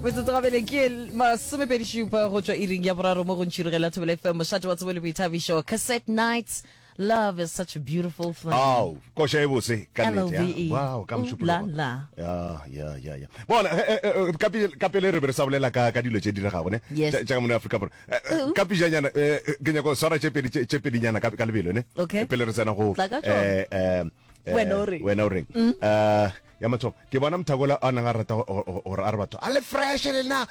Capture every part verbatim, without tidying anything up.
Metsotso gabele ke masomepedi šupa go tšwa iring ya boraro mo go ntšhirogela Thobela F M, mošate wa tsebo le boithabišo. Cassette Nights, love is such a beautiful thing. Ao, koša e bose ka nnete, ya. L O V E. Wow, ka Ooh, mošupologo. la, la. Ya, ya, ya, ya. Bona, eh, eh, eh, ka pele, ka pele re be re sa bolela ka, ka dilo tše diregago, ne? Yes. Tša, tša ka mono Afrika Borwa. Eh, eh, ka pejanyana, eh, eh, ke nyaka go swara tše pedi, tše, tše pedinyana ka, ka lebelo, ne? Okay. Pele re tsena go, Tla ka tšona. eh, eh, eh, Wena o reng? Wena o reng? Eh, ya mathomo, ke bona Mthakola a neng a rata go, go, gore a re batho, a le fresh le nna,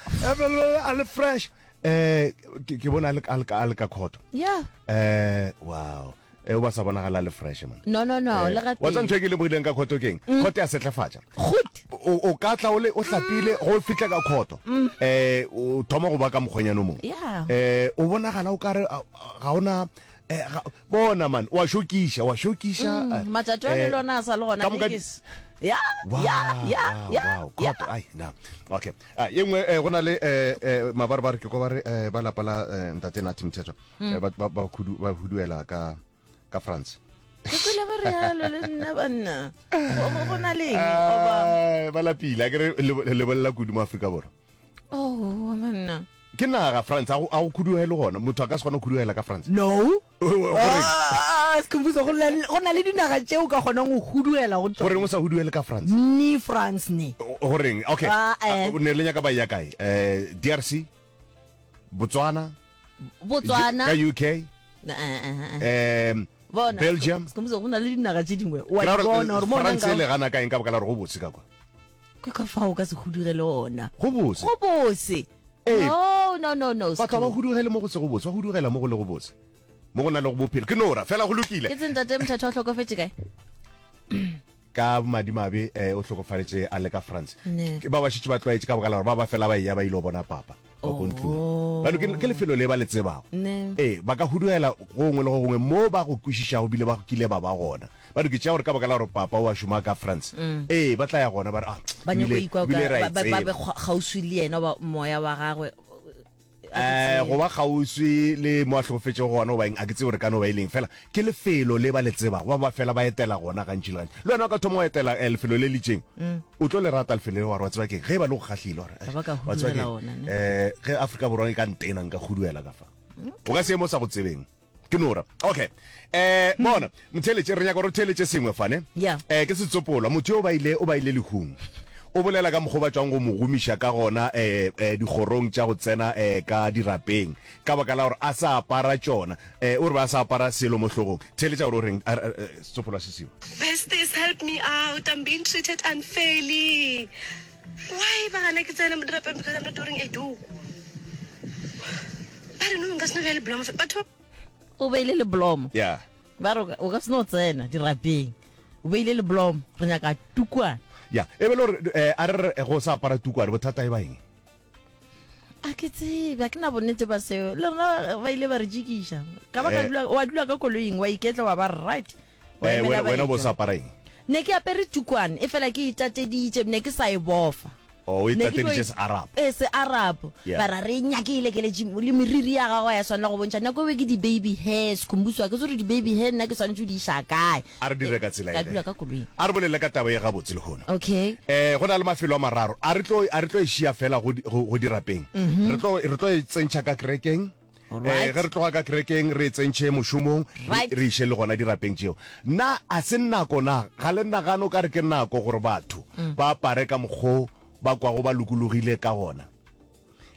a le fresh. Eh, ke, ke bona a le, a le, a le ka khoto. Yeah. Eh, wow. Eh, o ba sa bonagala le fresh, man. No, no, no, Eh, le ga wa tseba tee. ntho e ke lemogileng ka khoto keng? Khoto ya setlefatša. Good. O, o ka tla o le, o hlapile, go fihla ka khoto. Eh, o thoma go ba ka mokgwenyana o mongwe. Yeah. Eh, o bonagala o kare, a, ga ona, eh, ga, bona, man, wa šokiša, wa šokiša, Mm, eh, matšatši a le eh, lona a sa le gona, ka moka di- Vegas. Ya, Wow, ya, ya, wow, ya, wow, ya. khoto, ai, na. Okay. Ah, ye nngwe, eh, go na le, eh, eh, mabarebare ke kwa ba re, eh, ba lapa la, eh, ntate Nathi Mthethwa, Mm. eh, ba, ba, ba khudu-, ba huduela ka, ka France. Ke kwele ba re yalo le nna banna. Go, go, go na le eng? Goba Eh, ba lapile, a ke re le, le bolela kudu mo Afrika Borwa. Oh, banna. Ke naga France, a go, a go khuduele gona. Motho a ka se kgone go khuduela ka France. No. O, o, goreng? Ah, Skhumbuzo, go na le, go na le dinaga tšeo ka kgonang go huduela go tšona. Goreng o sa huduele ka France? Ni France ne. O, goreng? Okay. Ah, eh. Ah, ne le nyaka ba ya kae? Eh, D R C? Botswana? Botswana. Ka U K? Eh, eh, eh, eh. Em, Bona, Belgium? Skhumbuzo, go na le dinaga tše dingwe. Wa Ke ra di gore, bona gore mo France nna e le nka- gana ka eng ka baka la gore go bose ka kwa? Ke ka fao o ka se hudugele ona. Go bose. Go bose. Ee. No, no, no, no, Batho ba Skhumbuzo. hudugele mo go se go bose, ba hudugela mo go le go bose. Mo go na le go bophelo. Ke nora, fela go lokile. Ke tse ntate Mthethwa o hlokofetše kae? Ka madimabe, eh, o hlokofaletše a le ka France. Ne. Ke ba ba šetše ba tlwaetše ka baka la gore ba ba fela ba eya ba ile go bona papa ba ko ntlong. Oh. Bano ke, ke lefelo le ba le tsebago. Ne. Ee, ba ka hudugela gongwe le go gongwe mo ba go kwešišago bile ba kile ba ba gona. Bano ke tšea gore ka baka la gore papa o a šoma ka France. Mm. Ee, ba tla ya gona ba re, ah, Ba nyako ebile, ikwa ebile ka, re a e ba, ba, ba be tseba. kgwa-, kgauswi le yena ba moya wa gagwe. Eh, go ba kgauswi le mo a hlokofetšego gona goba eng, a ke tsebe gore ka no ba e leng, fela ke lefelo le ba le tsebago, ba ba fela ba etela gona gantši le gantši. Le wena o ka thoma go etela, eh, lefelo le le itšeng, Mm. o tlo le rata lefelo le, wa re wa tseba keng, ge e ba le go kgahlile, wa re, Ba ba ka wa tseba huduela keng, ona, ne? eh, ge Afrika Borwa e ka ntena, nka huduela ka fa. O ka se emo sa go tsebeng. Ke nora. Okay. Eh, bona, motheeletše, re nyaka gore o theeletše sengwe fa, ne? Yeah. Eh, ke setsopolwa, motho yo o ba ile, o ba ile lehung. O bolela ka mokgwa o ba tšwang go mo gomiša ka gona, eh, eh, dikgorong tša go tsena, eh, ka dirapeng, ka baka la gore a sa apara tšona. Eh, o re ba a sa apara selo mo hlogong. Theeletša gore o reng, a, a, a, setsopolwa se seo. Besties, help me out. I'm being treated unfairly. Why ba gana ke tsena mo dirapeng because I'm not wearing a doek? Ba re no nka se no beya leblomo fa. Batho ba O beile leblomo. Yeah. Ba re o ka, o ka se no tsena dirapeng. O beile leblomo, re nyaka tukwane. Ya, e be le gore, eh, a re re go sa apara tukwane, bothata e ba eng? A ke tsebe, a ke na bonnete ba seo. Le rena ba ile ba re tšikiša. Ka ba ka Eh. dula, wa dula ka koloing, wa iketla, wa ba right. Wa Eh, emela wena, wena bo baetwa. sa apara eng? Ne ke apere tukwane, e fela ke itateditše, ne ke sa e bofa. Oh, o Ne ke tlo itateditše e- se-Arab. Eh, se-Arab. Yeah. Ba ra re nyakile ke le gym, le meriri ya gagwe ya swanela go bontšha. Nako e ke di-baby hair, Skhumbuzo, a ke tsebe gore di-baby hair nna ke swanetše go di iša kae. A re dire ka tsela Ka e dula ka koloing. A re bolele ka taba ye gabotse lehono. Okay. Eh, go na le mafelo a mararo. A re tlo, a re tlo e šia fela go di-, go, go dirapeng. Mhm. Re tlo, re tlo e tsentšha ka kerekeng. Alright. Eh, ge re tloga ka kerekeng, re e tsentšhe mošomong, re, Right. re iše le gona dirapeng tšeo. Na a se nako na? Ga le nagane o ka re ke nako gore batho Mm. ba apare ka mokgo ba kwago ba lokologile ka gona?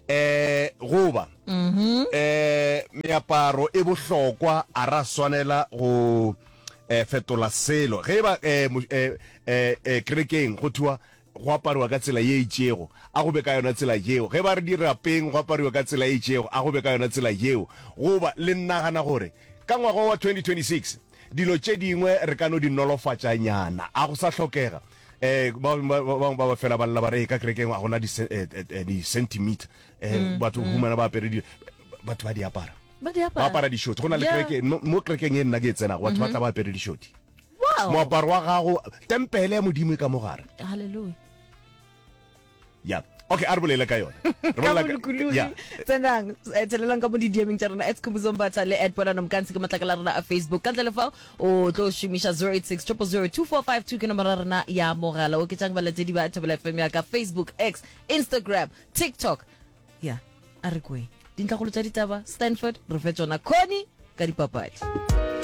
Eh, goba, Mhm. eh, meaparo e bohlokwa, a ra swanela go, eh, fetola selo. Ge e ba, eh, mo-, eh, eh, eh, kerekeng go thiwa go apariwa ka tsela ye itšego, a go be ka yona tsela yeo. Ge ba re dirapeng go apariwa ka tsela ye itšego, a go be ka yona tsela yeo. Goba le nagana gore ka ngwaga wa twenty twenty-six dilo tše dingwe re ka no di nolofatšanyana, a go sa hlokega. Eh, ba, ba, ba, ba, ba fela ba lla ba re, ka kerekeng ga gona di-ce-, eh, eh, eh, di-centimeter. Eh, Mm, batho mm. humana ba apere di-, batho ba di apara. Ba di apara. Ba apara dišoti. Go na le Yeah. kereke, mo, mo kerekeng e nna ke e tsenago, batho ba Mhm. tla ba apere dišoti. Wow. Moaparo wa gago, tempele ya Modimo e ka mogare. Hallelujah. Ya, Okay, a re bolele ka yona. Re Ka bolela ka- bolokologi. Yeah. Tsenang, eh, tselelang ka mo di-D M-eng tša rena at Khumbudzo Mbatha le at Polano Mkansi ke matlakala a rena a Facebook. Ka ntle le fao o tlo šomiša zero eight six, zero zero zero, two four five two ke nomoro ya rena ya mogala. Oketšang balatedi ba Thobela F M ya ka Facebook, X, Instagram, TikTok. Ya, a re kweng. Dintlhakgolo tša ditaba, Stanford, re fe tšona. Connie ka dipapadi.